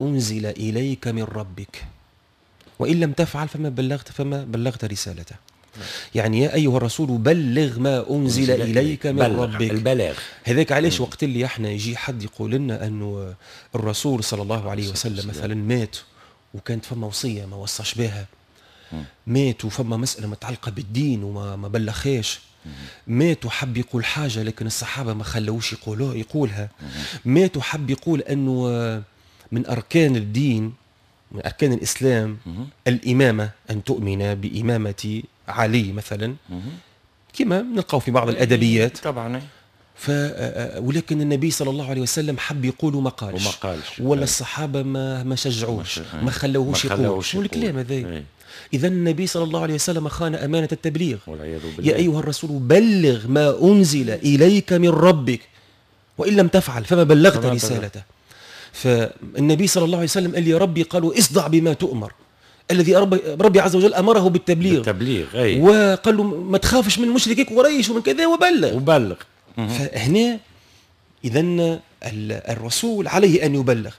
أنزل إليك من ربك وإن لم تفعل فما بلغت رسالته. يعني يا أيها الرسول بلغ ما أنزل إليك من ربك. البلاغ. هذاك علاش وقت اللي احنا يجي حد يقول لنا أنه الرسول صلى الله عليه وسلم مثلا مات وكانت فما وصية ما وصاش بها، مات وفما مسألة متعلقة بالدين وما ما بلغهاش، مات وحب يقول حاجة لكن الصحابة ما خلوش يقولها، مات وحب يقول أنه من أركان الدين، من أركان الإسلام الإمامة، أن تؤمن بإمامة علي مثلا، كما نلقاو في بعض الأدبيات. ف ولكن النبي صلى الله عليه وسلم حب يقول وما قالش. وما قالش. ولا الصحابة ما شجعوش، ما خلوهوش يقول. شنو الكلام هذا؟ اذا النبي صلى الله عليه وسلم خان امانه التبليغ. والعياذ بالله. يا ايها الرسول بلغ ما انزل اليك من ربك وان لم تفعل فما بلغت رسالته. فالنبي صلى الله عليه وسلم قال لي ربي قالوا اصدع بما تؤمر، الذي ربي عز وجل امره بالتبليغ. بالتبليغ، اي. وقال له ما تخافش من مشركي قريش ومن كذا وبلغ. وبلغ. فهنا اذا الرسول عليه ان يبلغ.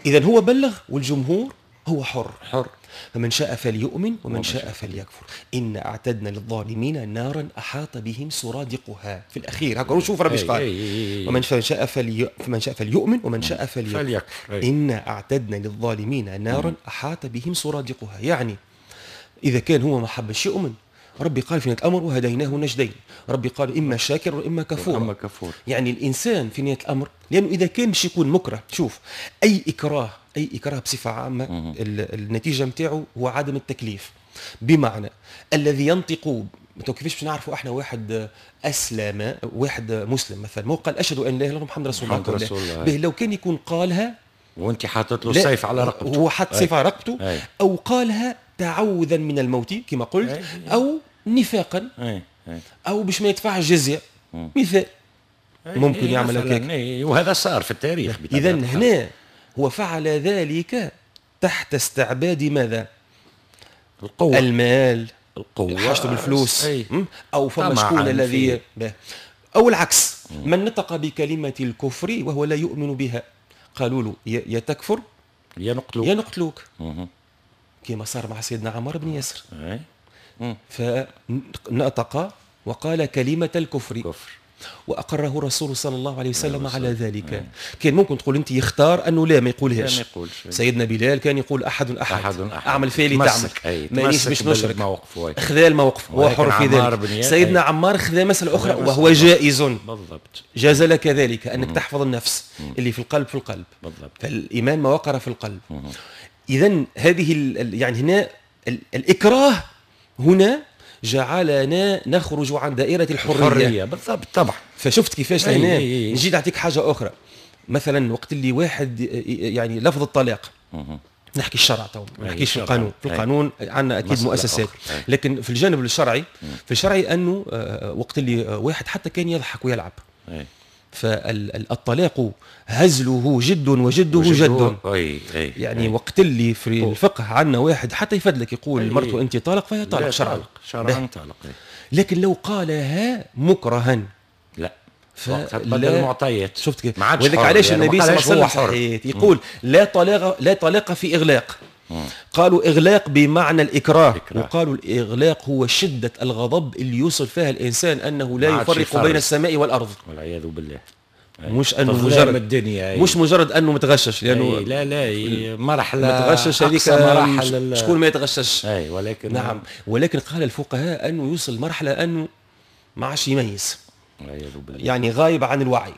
اذا هو بلغ والجمهور هو حر. حر. فمن شاء فليؤمن ومن شاء فليكفر إنا أعتدنا للظالمين نارا أحاط بهم سرادقها. في الأخير هكا شوف ربي قال: فمن شاء فليؤمن ومن شاء فليكفر إنا أعتدنا للظالمين نارا أحاط بهم سرادقها. يعني إذا كان هو ما حبش يؤمن، ربي قال في نهاية الأمر: وهديناه النجدين. ربي قال: إما شاكر وإما كفور. إما كفور. يعني الإنسان في نهاية الأمر، لأنه إذا كان مش يكون مكره، شوف، أي إكراه، أي إكراه بصفة عامة النتيجة نتاعو هو عدم التكليف. بمعنى الذي ينطق، كيفاش باش نعرفوا احنا واحد اسلم، واحد مسلم مثلا، ما قال اشهد ان لا اله الا الله محمد رسول الله؟ محمد رسول الله. به لو كان يكون قالها وانت حاطط له السيف على رقبته. هو حط السيف على رقبته، او قالها تعوذا من الموت كما قلت، او نفاقا، او باش ما يدفعش جزيه مثال، ممكن يعمل هكاك. وهذا صار في التاريخ. اذا هنا هو فعل ذلك تحت استعباد ماذا؟ القوة. المال. القوة. حاجته بالفلوس. أو فما شكون الذي، أو العكس، من نطق بكلمة الكفر وهو لا يؤمن بها، قالوا له يا تكفر يا نقتلوك. يا نقتلوك، كما صار مع سيدنا عمار بن ياسر، فنطق وقال كلمة الكفر. كفر. واقره الرسول صلى الله عليه وسلم على ذلك. كان ممكن تقول انت يختار انه لا ما يقولهاش. لا ما يقولش. سيدنا بلال كان يقول احد احد، أحد أحد. اعمل فعلي تعمل، مانيش باش نشرك. موقف. خذا الموقف، هو حر في ذلك. سيدنا عمار خذا مسألة أخرى وهو جائز. جاز لك ذلك أنك تحفظ النفس. اللي في القلب في القلب. فالإيمان ما وقر في القلب. إذا هذه يعني هنا الإكراه هنا جعلنا نخرج عن دائرة الحرية. الحرية بالضبط، طبعا. فشفت كيفاش هنا نجي نعطيك حاجة أخرى، مثلا وقت اللي واحد يعني لفظ الطلاق، نحكي الشرع تو، ما نحكيش في القانون. في القانون عندنا اكيد مؤسسات، لكن في الجانب الشرعي، في الشرعي انه وقت اللي واحد حتى كان يضحك ويلعب، فالطلاق هزله جد وجده جد. أي. يعني وقت اللي في الفقه عندنا واحد حتى يفدلك يقول مرته انت طالق، فهي طالق شرعا. شرعا طالق. لكن لو قالها مكرها لا، فتبدل المعطيات. شفت كيف؟ وذلك علاش النبي صلى الله عليه وسلم يقول لا طلاق، لا طلاق في اغلاق. قالوا إغلاق بمعنى الإكراه. إكراه. وقالوا الإغلاق هو شدة الغضب اللي يوصل فيها الإنسان أنه لا ما عادش يفرق يفرق. بين السماء والأرض. والعياذ بالله. مش أنه تظلام مجرد الدنيا أي. مش مجرد أنه متغشش، لأنه أي لا لا مرحلة متغشش هذيك أقصى مراحل شكون ما يتغشش؟ أي ولكن نعم، ولكن قال الفقهاء أنه يوصل مرحلة أنه ما عادش يميز. والعياذ بالله. يعني غايب عن الوعي.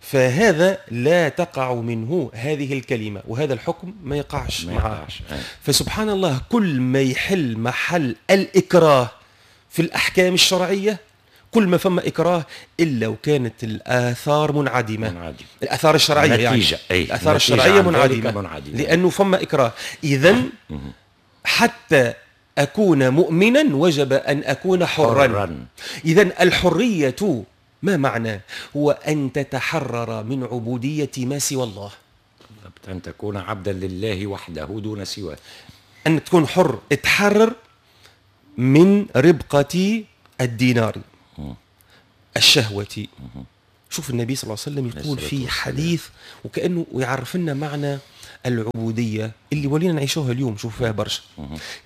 فهذا لا تقع منه هذه الكلمة، وهذا الحكم ما يقعش ما معه. يقعش. أي. فسبحان الله، كل ما يحل محل الإكراه في الأحكام الشرعية، كل ما فما إكراه إلا وكانت الآثار منعدمة. منعدمة. الآثار الشرعية يعني. النتيجة. أي. الآثار النتيجة الشرعية عن ذلك منعدمة. منعدمة. لأنه فما إكراه. إذا حتى أكون مؤمنا وجب أن أكون حرا. حرا. إذا الحرية ما معنى؟ هو أن تتحرر من عبودية ما سوى الله. بالضبط، أن تكون عبدا لله وحده دون سواه. أن تكون حر، تحرر من ربقة الدينار، الشهوة، شوف النبي صلى الله عليه وسلم يقول في حديث وكأنه يعرف لنا معنى العبودية اللي ولينا نعيشوها اليوم، شوف فيها برشا.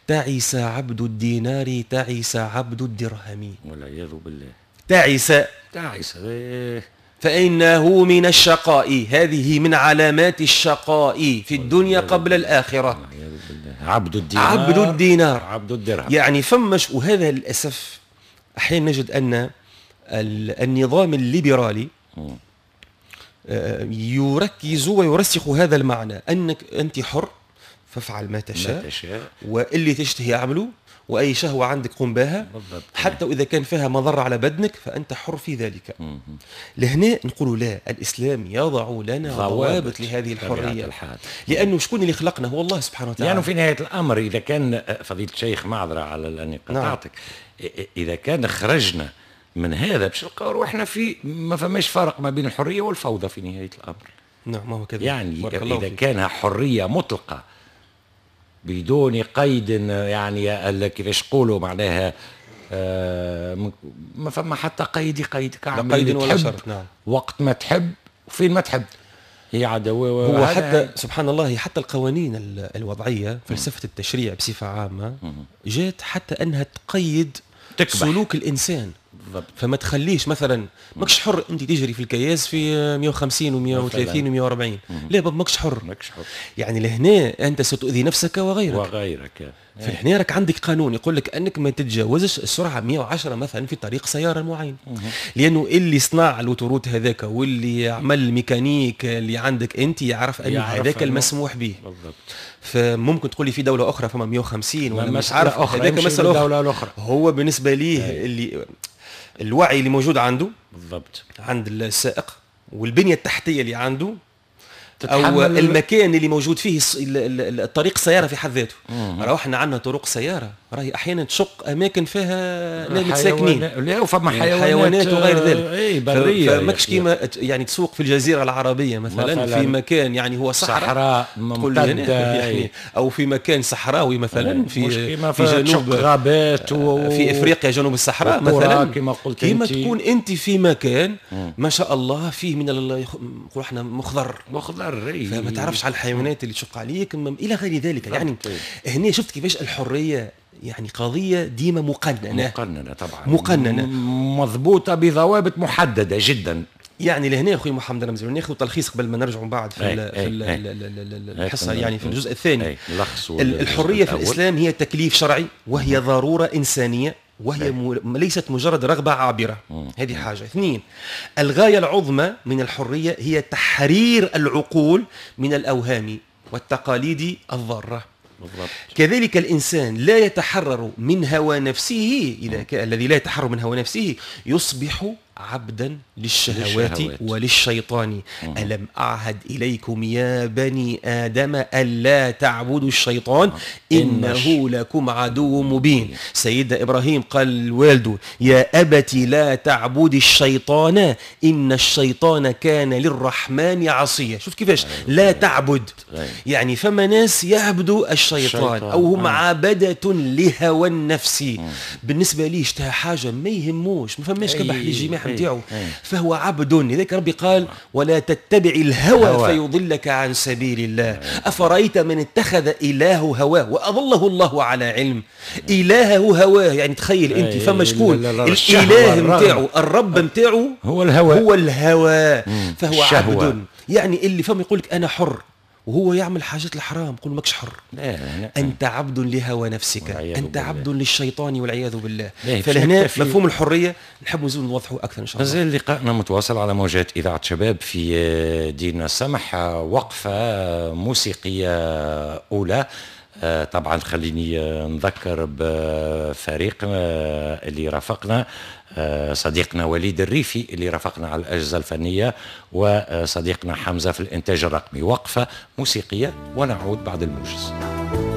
تعس عبد الدينار، تعس عبد الدرهم، والعياذ بالله. تعس تعس فإنه من الشقاء، هذه من علامات الشقاء في الدنيا قبل الآخرة. عبد الدينار، عبد الدينار، عبد الدرهم، يعني فمش. وهذا للأسف أحيانا نجد أن النظام الليبرالي يركز ويرسخ هذا المعنى، أنك أنت حر فافعل ما تشاء، واللي تشتهي اعمله، وأي شهوة عندك قم بها، حتى وإذا كان فيها مضرة على بدنك فأنت حر في ذلك. لهنا نقول لا، الإسلام يضع لنا ضوابط لهذه الحرية، لأنه شكون اللي خلقنا؟ هو الله سبحانه وتعالى. لأنه في نهاية الأمر إذا كان فضيلة الشيخ، معذرة على أني قطعتك، إذا كان خرجنا من هذا باش نلقاو روحنا في ما فماش فرق ما بين الحرية والفوضى في نهاية الأمر. نعم، ما هو كذلك. يعني إذا كانها حرية مطلقة بدون قيد، يعني كيفاش نقولوا معناها ما فما حتى قيد يقيدك، لا قيد ولا شرط. نعم، وقت ما تحب وفين ما تحب، هي عدوى. هو حتى سبحان الله، حتى القوانين الوضعية، فلسفة التشريع بصفة عامة جات حتى أنها تقيد سلوك الإنسان. بالضبط. فما تخليش مثلا ماكش حر انت تجري في الكياس في 150 و130 و140، لا بابا ماكش حر، ماكش حر. يعني لهنا انت ستؤذي نفسك وغيرك. فلهنا راك عندك قانون يقول لك انك ما تتجاوزش السرعة 110 مثلا في طريق سيارة معين، لانه اللي صنع ال autoroute هذاك واللي عمل الميكانيك اللي عندك انت يعرف انه هذاك المسموح به. بالضبط. فممكن تقول لي في دولة اخرى فما 150 ولا مش عارف، هذاك مسالة اخرى. هو بالنسبة ليه اللي الوعي اللي موجود عنده، بالضبط، عند السائق والبنية التحتية اللي عنده، او المكان اللي موجود فيه الطريق سيارة في حد ذاته. راهو احنا عندنا طرق سيارة راهي احيانا تشق اماكن فيها ناس ساكنين، لا وفما يعني حيوانات وغير ذلك. اي برية. فماكش كيما يعني تسوق في الجزيرة العربية مثلا في مكان يعني هو صحراء ممتدة، يعني او في مكان صحراوي مثلا في جنوب غابات في افريقيا جنوب الصحراء مثلا، كما قلت كيما تكون انت في مكان ما شاء الله فيه من نقول احنا مخضر، فما تعرفش على الحيوانات اللي تشق عليك الى غير ذلك. يعني هنا شفت كيفاش الحرية يعني قضية ديما مقننه، مقننه طبعا، مقننه مضبوطة بضوابط محددة جدا. يعني لهنا اخوي محمد رمزي ناخذ تلخيص قبل ما نرجعوا من بعد في الحصة، يعني في الجزء الثاني. الحرية في الاسلام هي تكليف شرعي، وهي ضرورة انسانيه، وهي ليست مجرد رغبة عابرة. هذه حاجة. اثنين، الغاية العظمى من الحرية هي تحرير العقول من الأوهام والتقاليد الضارة. بالضبط. كذلك الإنسان لا يتحرر من هوى نفسه، إذا الذي لا يتحرر من هوى نفسه يصبح عبدا للشهوات وللشيطان. ألم أعهد إليكم يا بني آدم ألا تعبدوا الشيطان إنه لكم عدو مبين. سيدنا إبراهيم قال لوالده يا أبت لا تعبد الشيطان إن الشيطان كان للرحمن عصيا. شوف كيفاش لا تعبد، يعني فما ناس يعبدوا الشيطان أو هم عبدة لهوى النفس. بالنسبة لي اشتهى حاجة ما يهموش، ما فماش كبح للجماع نتاعو، فهو عبد. لذلك ربي قال ولا تتبع الهوى فيضلك عن سبيل الله. أفرأيت من اتخذ إلهه هواه وأضله الله على علم. إلهه هواه، يعني تخيل أنت فما شكون الإله نتاعو، الرب نتاعو هو الهوى، هو الهوى، فهو عبد. يعني اللي فما يقول لك أنا حر وهو يعمل حاجات الحرام، قل ماكش حر. لا. أنت عبد لهوى نفسك، أنت عبد للشيطان والعياذ بالله. فلهنا مفهوم الحرية نحب نزيد نوضحه أكثر إن شاء الله. مازال لقائنا متواصل على موجات إذاعة شباب في ديننا السمح. وقفة موسيقية أولى. طبعا خليني نذكر بفريق اللي رافقنا، صديقنا وليد الريفي اللي رافقنا على الأجهزة الفنية، وصديقنا حمزة في الإنتاج الرقمي. وقفة موسيقية ونعود بعد الموجز.